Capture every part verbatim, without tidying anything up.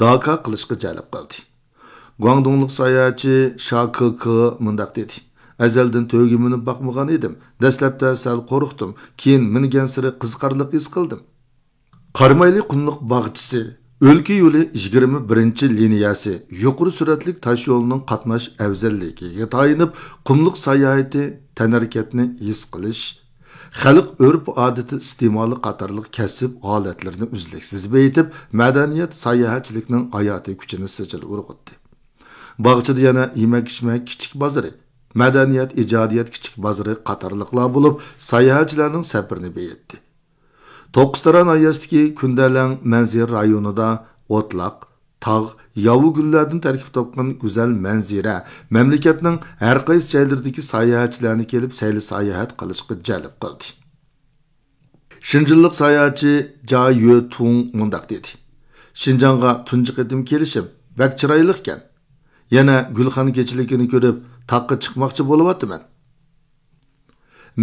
داكا قىلىشقا جەلپ قىلدى. گۇاڭدۇڭلۇق ساياھەتچى شا كې كې مۇنداق دېدى: ئەزەلدىن تۆگە مىنىپ باقمىغان ئىدىم. دەسلەپتە سەل قورقتۇم، كېيىن مىنگەنسېرى قىزىقارلىق ھېس قىلدىم. قارامايلى قۇملۇق باغچىسى، ئۆلكە يولى يىگىرمە بىرىنچى لىنىيەسى يۇقىرى سۈرئەتلىك تاشيولىنىڭ قاتناش ئەۋزەللىكىگە تايىنىپ، قۇملۇق ساياھىتى، تەنھەرىكەتنى ھېس قىلىش، خەلق ئۆرپ-ئادىتى ئىستېمالى قاتارلىق كەسىپ ھالەتلىرىنى ئۈزلۈكسىز بېيىتىپ، مەدەنىيەت ساياھەتچىلىكنىڭ ھاياتىي كۈچىنى سىجىل ئۇرغۇتتى. باغچىدا يەنە يېمەك-ئىچمەك كىچىك بازىرى، مەدەنىيەت ئىجادىيەت كىچىك بازىرى قاتارلىقلار بولۇپ، ساياھەتچىلەرنىڭ سەپىرىنى بېيىتتى. توققۇزتارا ناھىيەسىدىكى كۈندەلەڭ مەنزىرە رايونىدا ئوتلاق، تاغ، ياۋا گۈللەردىن تەركىب تاپقان گۈزەل مەنزىرە مەملىكەتنىڭ ھەر قايسى جايلىرىدىكى ساياھەتچىلەرنى كېلىپ سەيلە ساياھەت قىلىشقا جەلپ قىلدى. شىنجىنلىق ساياھەتچى جا يۆتۇڭ مۇنداق دېدى: شىنجاڭغا تۇنجى قېتىم كېلىشىم، بەك چىرايلىقكەن. يەنە گۈلخان كېچىلىكىنى كۆرۈپ، تاغقا چىقماقچى بولۇۋاتىمەن.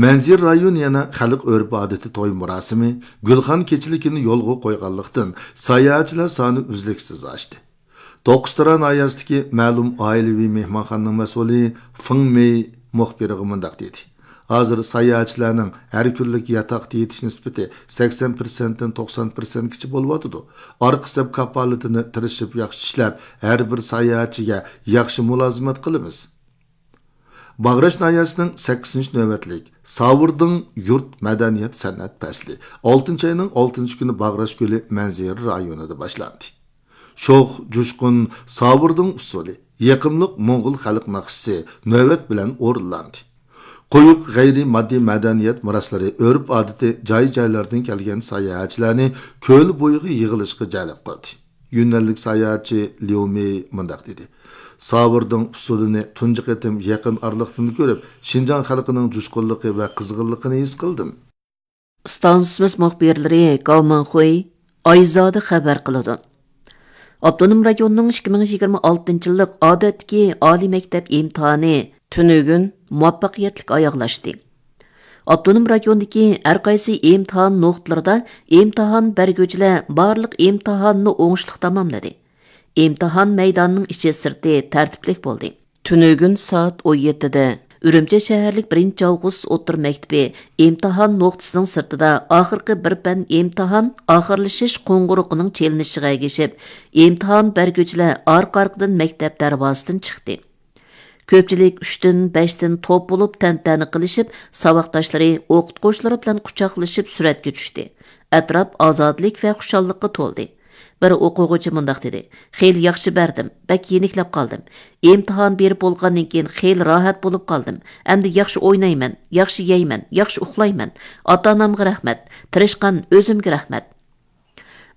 مەنزىرە رايونى يەنە خەلق ئۆرپ-ئادىتى توي مۇراسىمى، گۈلخان كېچىلىكىنى يولغا قويغانلىقتىن، ساياھەتچىلەر سانى ئۈزلۈكسىز ئاشتى. توققۇزتارا ناھىيەسىدىكى مەلۇم ئائىلىۋى مېھمانخانىنىڭ مەسئۇلى فېڭ مېي مۇخبىرغا مۇنداق دېدى: ھازىر ساياھەتچىلەرنىڭ ھەر كۈنلۈك ياتاقتا يېتىش نىسبىتى سەكسەن پىرسەنتتىن توقسان پىرسەنتكىچە بولۇۋاتىدۇ. ئارقا سەپ كاپالىتىنى تىرىشىپ ياخشى ئىشلەپ، ھەر بىر ساياھەتچىگە ياخشى مۇلازىمەت قىلىمىز. باغراش ناھىيەسىنىڭ سەككىزىنچى نۆۋەتلىك ساۋۇردىڭ يۇرت مەدەنىيەت سەنئەت پەسلى ئالتىنچى ئاينىڭ ئالتىنچى كۈنى باغراش كۆلى مەنزىرە رايونىدا باشلاندى. شوخ، جۇشقۇن ساۋۇردىڭ ئۇسسۇلى، يېقىملىق موڭغۇل خەلق ناخشىسى نۆۋەت بىلەن ئورۇنلاندى. قويۇق غەيرىي ماددىي مەدەنىيەت مىراسلىرى، ئۆرپ-ئادىتى جاي-جايلاردىن كەلگەن ساياھەتچىلەرنى كۆل بويىغا يىغىلىشقا جەلپ قىلدى. يۈننەنلىك ساياھەتچى ليۇ مېي مۇنداق دېدى: ساۋۇردىڭ ئۇسسۇلىنى تۇنجى قېتىم يېقىن ئارىلىقتىن كۆرۈپ، شىنجاڭ خەلقىنىڭ جۇشقۇنلۇقى ۋە قىزغىنلىقىنى ھېس قىلدىم. ئىستانسىمىز مۇخبىرلىرى گاۋ مىڭخۇي، ئايزادە خەۋەر قىلىدۇ. ئاپتونوم رايوننىڭ ئىككى مىڭ يىگىرمە ئالتىنچى يىللىق ئادەتتىكى ئالىي مەكتەپ ئىمتىھانى تۈنۈگۈن مۇۋەپپەقىيەتلىك ئاياغلاشتى. ئاپتونوم رايوندىكى ھەر قايسى ئىمتىھان نۇقتىلىرىدا ئىمتىھان بەرگۈچىلەر بارلىق ئىمتىھاننى ئوڭۇشلۇق تاماملىدى. ئىمتىھان مەيدانىنىڭ ئىچى سىرتى تەرتىپلىك بولدى. تۈنۈگۈن سائەت ئون يەتتىدە ئۈرۈمچى شەھەرلىك بىرىنچى ئاۋغۇست ئوتتۇرا مەكتىپى ئىمتىھان نۇقتىسىنىڭ سىرتىدا ئاخىرقى بىر پەن ئىمتىھان ئاخىرلىشىش قوڭغۇرىقىنىڭ چېلىنىشىغا ئەگىشىپ، ئىمتىھان بەرگۈچىلەر ئارقا-ئارقىدىن مەكتەپ دەرۋازىسىدىن چىقتى. كۆپچىلىك ئۈچتىن، بەشتىن توپ بولۇپ تەنتەنە قىلىشىپ، ساۋاقداشلىرى، ئوقۇتقۇچىلىرى بىلەن قۇچاقلىشىپ سۈرەتكە چۈشتى. ئەتراپ ئازادىلىك ۋە خۇشاللىققا تولدى. بىر ئوقۇغۇچى مۇنداق دېدى: خېلى ياخشى بەردىم، بەك يېنىكلەپ قالدىم. ئىمتىھان بېرىپ بولغاندىن كېيىن خېلى راھەت بولۇپ قالدىم. ئەمدى ياخشى ئوينايمەن، ياخشى يەيمەن، ياخشى ئۇخلايمەن. ئاتا-ئانامغا رەھمەت، تىرىشقان ئۆزۈمگە رەھمەت.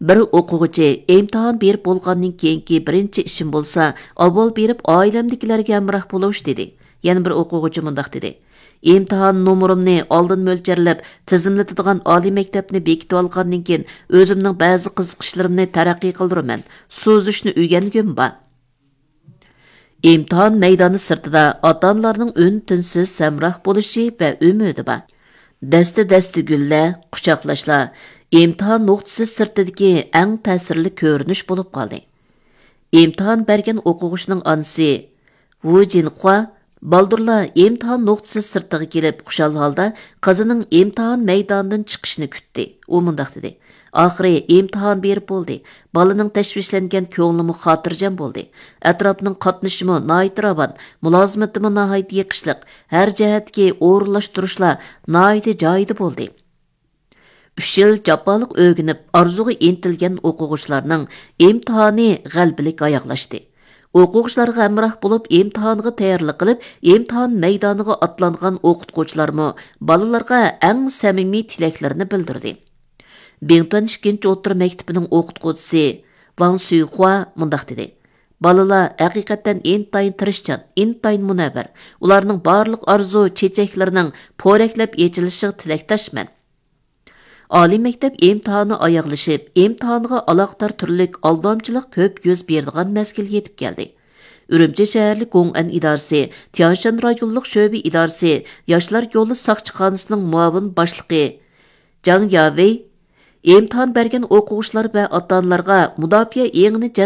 بىر ئوقۇغۇچى ئىمتىھان بېرىپ بولغاندىن كېيىنكى بىرىنچى ئىشىم بولسا، ئاۋۋال بېرىپ ئائىلەمدىكىلەرگە ھەمراھ بولۇش، دېدى. يەنە بىر ئوقۇغۇچى مۇنداق دېدى: ئىمتىھان نومۇرۇمنى ئالدىن مۆلچەرلەپ، تىزىملىتىدىغان ئالىي مەكتەپنى بېكىتىۋالغاندىن كېيىن، ئۆزۈمنىڭ بەزى قىزىقىشلىرىمنى تەرەققىي قىلدۇرىمەن، سۇزۇشنى ئۆگەنگۈم بار. ئىمتىھان مەيدانى سىرتىدا ئاتا-ئانىلارنىڭ ئۈن-تىنسىز ھەمراھ بولۇشى ۋە ئۈمىدى بار. دەستە-دەستە گۈللەر، قۇچاقلاشلار ئىمتىھان نۇقتىسى سىرتىدىكى ئەڭ تەسىرلىك كۆرۈنۈش بولۇپ قالدى. ئىمتىھان بەرگەن ئوقۇغۇچىنىڭ ئانىسى ۋۇ جىنخۇا بالدۇرلا ئىمتىھان نۇقتىسى سىرتىغا كېلىپ، خۇشال ھالدا قىزىنىڭ ئىمتىھان مەيدانىدىن چىقىشىنى كۈتتى. ئۇ مۇنداق دېدى: ئاخىرى ئىمتىھان بېرىپ بولدى. بالىنىڭ تەشۋىشلەنگەن كۆڭلىمۇ خاتىرجەم بولدى. ئەتراپنىڭ قاتنىشىشىمۇ ناھايىتى راۋان، مۇلازىمىتىمۇ ناھايىتى يېقىشلىق، ھەر جەھەتتىكى ئورۇنلاشتۇرۇشلار ناھايىتى جايىدا بولدى. ئۈچ يىل جاپالىق ئۆگىنىپ، ئارزۇغا ئىنتىلگەن ئوقۇغۇچىلارنىڭ ئىمتىھانى غەلىبىلىك ئاياغلاشتى. ئوقۇغۇچىلارغا ھەمراھ بولۇپ، ئىمتىھانغا تەييارلىق قىلىپ، ئىمتىھان مەيدانىغا ئاتلانغان ئوقۇتقۇچىلارمۇ بالىلارغا ئەڭ سەمىمىي تىلەكلىرىنى بىلدۈردى. بىڭتۈەن ئىككىنچى ئوتتۇرا مەكتىپىنىڭ ئوقۇتقۇچىسى ۋاڭ سۈيخۇا مۇنداق دېدى: بالىلار ھەقىقەتەن ئىنتايىن تىرىشچان، ئىنتايىن مۇنەۋۋەر. ئۇلارنىڭ بارلىق ئارزۇ چېچەكلىرىنىڭ پورەكلەپ ئېچىلىشىغا تىلەكداشمەن. ئالىي مەكتەپ ئىمتىھانى ئاياغلىشىپ، ئىمتىھانغا ئالاقىدار تۈرلۈك ئالدامچىلىق كۆپ يۈز بېرىدىغان مەزگىل يېتىپ كەلدى. ئۈرۈمچى شەھەرلىك گوڭئەن ئىدارىسى تيانشان رايونلۇق شۆبە ئىدارىسى ياشلار يولى ساقچىخانىسىنىڭ مۇئاۋىن باشلىقى جاڭ ياۋېي ئىمتىھان بەرگەن ئوقۇغۇچىلار ۋە ئاتا-ئانىلارغا مۇداپىئە ئېڭىنى